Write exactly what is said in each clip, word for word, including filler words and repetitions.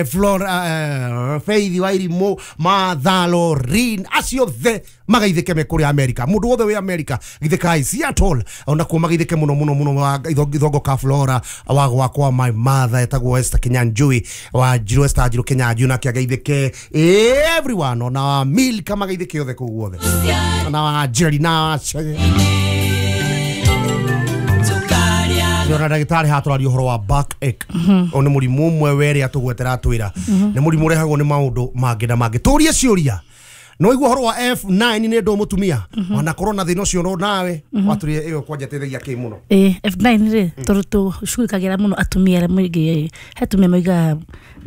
Flora, uh, Faith Wairimu, Martha Lorin, acio the magaithike me kuria America. Mundu wothe wi America githikai Seattle ona kuo magaithike muno muno muno wa ithongo ka Flora wa gwakwa my mother etagwo Esther Kinyanjui wa Njirũ Esther Njirũ Kinyanjui nake agaithike everyone ona Milka magaithike othe kuu guothe ona wa Jerry na Yona ndagĩtarĩ haha tũraria ũhoro wa backache. O nĩ mũrimũ ũmwe werĩ atũgwetera atwĩra nĩ mũrimũ ũrehagwo nĩ maũndũ mangĩ na mangĩ. Tũrie ciũria no igua ũhoro wa F nine nĩ ndũ mũtumia wanakorwo na thĩna ũcio no nawe watũrie ĩyo kwanja teithagia kĩ mũno. Ĩ F nine rĩ tondũ tũcugurikagĩra mũno atumia arĩa maingĩ he atumia maugaga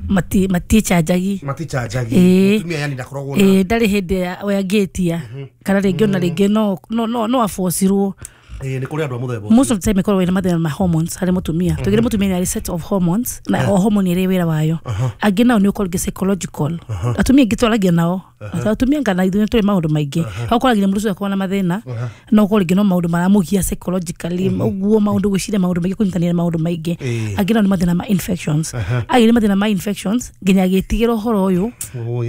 mati matichanjagi matichanjagi mũtumia yani ndakoragwo na ĩ ndarĩ hĩndĩ we angĩtia kana rĩngĩ ona rĩngĩ no no no abocirwo. Eh, nĩ kũrĩ andũ a mũthemba most of the time ĩkoragwo ĩna mathĩna ma hormones harĩ mũtumia. Tugire mũtumia nĩ arĩ set of hormones na o hormone ĩrĩ wĩra wayo. Angĩ nao nĩ ũkorwo rĩngĩ psychological. Atumia aingĩ twaragia nao atumia ngana ithuĩ tũrĩ maũndũ maingĩ ũkoragia mũndũ ũcio akorwo na mathĩna no ũkorwo rĩngĩ no maũndũ maramũgia psychologically ũguo maũndũ gwĩciria maũndũ maingĩ kũnyitanĩra maũndũ maingĩ. Angĩ nao nĩ mathĩna ma infections. Angĩ nĩ mathĩna ma infections nginya agĩtigĩra ũhoro ũyũ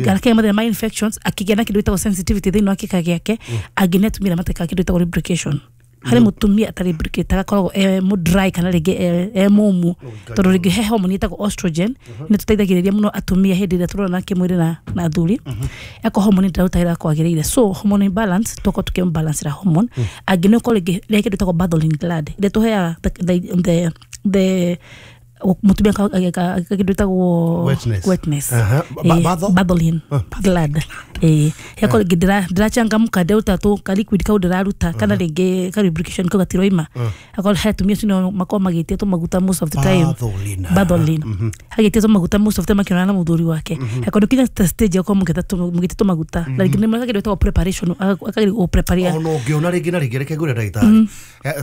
akĩgĩa mathĩna ma infections akĩgĩa na kĩndũ gĩtagwo sensitivity thĩinĩ wa kĩka gĩake. Angĩ nĩ atumia matekaga kĩndũ gĩtagwo lubrication. Harĩ mũtumia atarĩ lubricate agakoragwo e mũ dry kana rĩngĩ e mũmũ tondũ rĩngĩ he hormone ĩtagwo estrogen nĩ tũteithagĩrĩria mũno atumia hĩndĩ ĩrĩa tũrona kĩmwĩrĩ na na athuri eko hormone ndĩraruta wĩra kwagĩrĩire. So hormone imbalance tũkorwo tũkĩmbalance hormone. Angĩ nĩ ũkorwo rĩngĩ rĩ kĩndũ gĩtagwo Bartholin gland ĩrĩa tũheaga the the the mũtumia kĩndũ gĩtagwo wetness. Bartholin gland eh yako rĩngĩ ndĩrachangamka ndĩraruta tũ ka liquid kau ndĩraruta kana rĩngĩ ka lubrication kau gatiroima. Akorwo he atumia acio makorwo magĩtia tũmaguta most of the time. Bartholin agĩtia tũmaguta most of the time akĩonana na mũthuri wake. Akorwo kinya stage ya gũkorwo mũgĩtia tũmaguta na rĩngĩ nĩ kĩndũ gĩtagwo preparation akagĩrĩirwo gũ-prepare. Ona ũngĩona rĩngĩ na rĩngĩ reke ngwĩre ndagĩtarĩ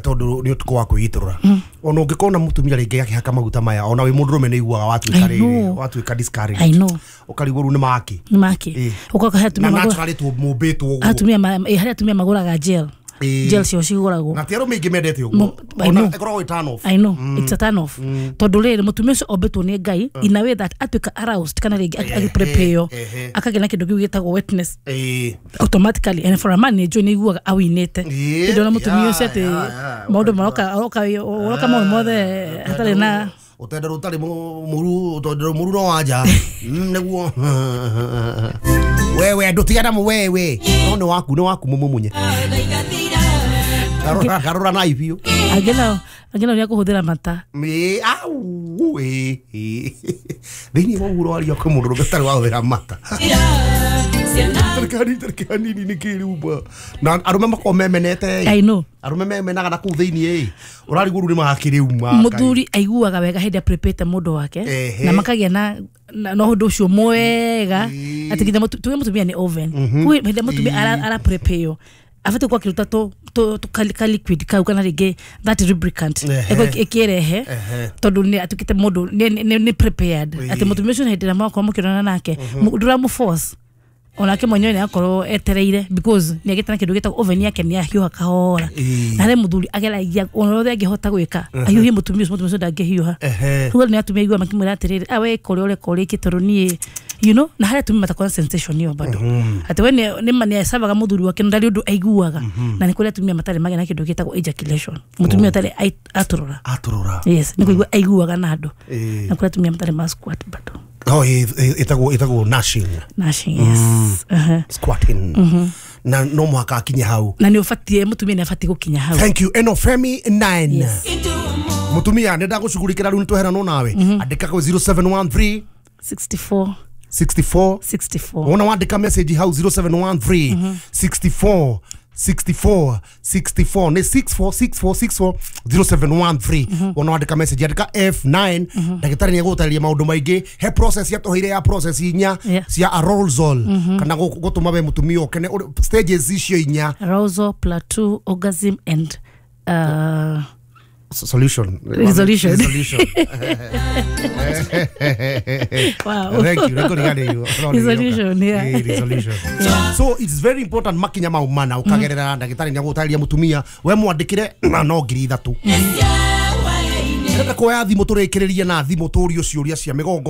tondũ nĩ ũtukũ wa kwĩitũrũra ona ũngĩkona mũtumia rĩngĩ akĩhaka maguta maya ona wĩ mũndũrũme nĩ iguaga watuĩka rĩrĩ watuĩka discouraged. I know ũkarigwo rĩu nĩ maki nĩ maki ũkoka he atumia na naturally tũmũmbĩtwo ũguo atumia harĩ atumia magũraga gel gel cio cigũragwo na ti arũme aingĩ mendete ũguo ona ĩkoragwo ĩ turn off. I know it's a turn off tondũ rĩrĩ mũtumia ũcio ombĩtwo nĩ Ngai in a way that atuĩka aroused kana rĩngĩ agĩprepare akagĩa na kĩndũ kĩu gĩtagwo wetness automatically and for a man nĩ njũĩ nĩ aiguaga awinĩte hĩndĩ ona mũtumia ũcio atĩ maũndũ maroka oka oka maũndũ mothe hatarĩ na utendero utari muru utendero muru no wanja niguo wewe ndutigana mu wewe no ni waku ni waku mumumunye karora karora na ibio agena agena ni akuhuthira mata mi au e thini wa uro aria kwa mundu rutari wa huthira mata tarikani tarikani ni kiruba na arume makorwo memenete. I know arume memenaga na kuu thiini ĩ ũrarigwo rĩu nĩ makĩrĩuma mũthuri aiguaga wega hĩndĩ aprepete mũndũ wake na makagĩa na na ũndũ ũcio mwega atĩ nginya tuge mũtumia nĩ oven kwĩ hĩndĩ mũtumia ara prepare abatiĩ gũkorwo akĩruta tũ tũ ka liquid kau kana rĩngĩ that lubricant ĩkĩrehe tondũ nĩ atuĩkĩte mũndũ nĩ prepared atĩ mũtumia ũcio hĩndĩ ĩrĩa mwakorwo mũkĩonana nake ndũramũ-force onake mwenyewe nĩ akorwo etereire because nĩ agĩte na kĩndũ gĩtagwo oven yake nĩ ahiũha kahora na harĩ mũthuri ageragia ona ũrĩa angĩhota gwĩka ahiũhie mũtumia ũcio mũtumia ũcio ndangĩhiũha rĩu nĩ atumia aigua makĩmwĩra atĩrĩrĩ ah we ĩka ũrĩa ũreka ũrĩkie tondũ niĩ you know na harĩ atumia matakoragwo na sensation ĩyo bado atĩ we nĩ ma nĩ acavaga mũthuri wake na ndarĩ ũndũ aiguaga na nĩ kũrĩ atumia matarĩ magĩa na kĩndũ gĩtagwo ejaculation mũtumia ũtarĩ atũrũra atũrũra yes nĩ kũigua aiguaga na andũ na kũrĩ atumia matarĩ ma squat bado. Oh, ĩtagwo ĩtagwo nashing. Nashing, yes. Uh-huh. Squatting. Na no mũhaka akinye hau. Na nĩ ũbatiĩ mũtumia nĩ abatiĩ gũkinya hau. Thank you. Eno Femi nine. Mũtumia nĩ ndagũcugurikĩra rĩu nĩ tweheranwo nawe. Andĩka kwĩ zero seven one three sixty-four sixty-four sixty-four. Wona wandĩka message hau zero seven one three sixty-four sixty-four sixty-four ni six four six four six four zero seven one three. Wona wandĩka message andĩka F nine ndagĩtarĩ nĩ egũgũtarĩria maũndũ maingĩ he process yatũheire ya process inya cia arousal kana gũtũma we mũtumia ũkene stages icio inya arousal, plateau, orgasm and uh solution. Resolution. Resolution. Wow. Thank you. Resolution, yeah. Resolution. So it's very important makinya mau mana ukagerera ndagĩtarĩ nĩ agũtarĩria mũtumia we mwandĩkĩre na no ngiri ithatũ. Ndĩrenda kuoya thimũ tũrĩkĩrĩrie na thimũ tũrio ciũria cia mĩgongo.